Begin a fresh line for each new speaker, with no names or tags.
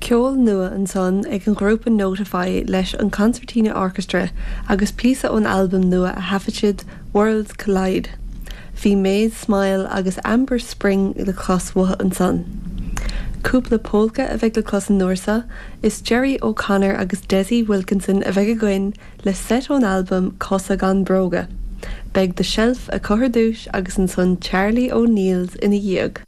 Ceol nua ansan ag an ghrúpa Notify leis an Concertina Orchestra agus píosa ón albam nua a thaifead siad, Worlds Collide. Bhí May's Smile agus Amber Spring le clos uathu ansan. Cúpla pólca a bheidh le clos an uair seo, is Gerry O'Connor agus Dessie Wilkinson a bheidh againn le seit ón albam Cosa Gan Bróga. Beidh The Shelf acu ar dtús agus ansan Charlie O'Neills ina dhiaidh.